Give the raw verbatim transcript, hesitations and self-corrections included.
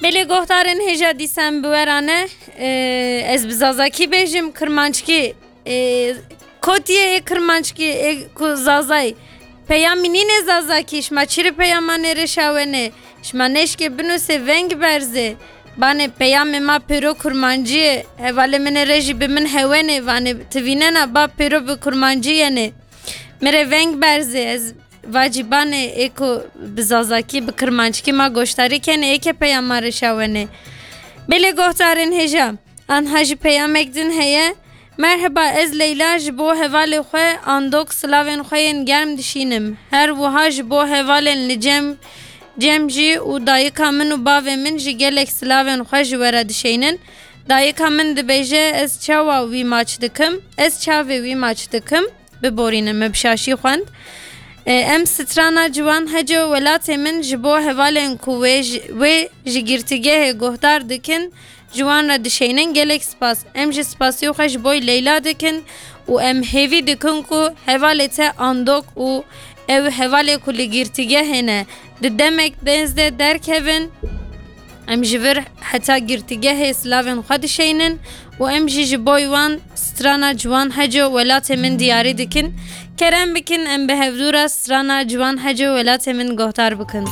Belê guhdarên hêja dîsa em bi we re ne. Ee, ez bi zazakî bêjim, kirmanckî. Ee, kotiyê ê kirmanckî, ê ku zazayî. Peyamî nînê zazakî, şima çi rê peyama nêrêşa wenê? Şima neşkê binusê veng berzê. Banê peyamê ma pêro kurmancî ye. Hevalê min ê re jî bi min hewenê, vanê ti vînena ba pêro bi kurmancî yenê. Min rê veng berzê, ez vacî banê ê ku bi zazakî, bi kirmanckî ma goşdarî kenê, ê ke peyama rêşa wenê. Belê guhdarên hêja, anha jî peyamek din heye. Merheba, ez Leyla, ji bo hevalê xwe Andok silavên xwe yên germ dişînim. Her wiha ji bo hevalên li cem, cem jî û dayika min û bavê min jî gelek silavên xwe ji we re dişeynin. Dayika min dibêje, ez çawa wî maç dikim? Ez çavê wî maç dikim? Biborîne, me bi şaşî xwend. E, em strana Ciwan Heco welatê min ji bo hevalên ku wê ji, wê ji girtîgehê guhdar dikin, ji wan re dişeynin. Gelek spas. Em jî spasiyê xwe ji boy Leyla dikin û em hêvî dikin ku hevalê te Andok û ew hevalê ku li girtîgehê ne, di demek nêz de derkevin. Em ji vir heta girtîgehê silavên xwe dişeynin û em jî ji boy wan strana Ciwan Heco welatê min diyarî dikin. Kerem bikin, em bi hevdû re strana Ciwan Heco welatê min guhdar bikin.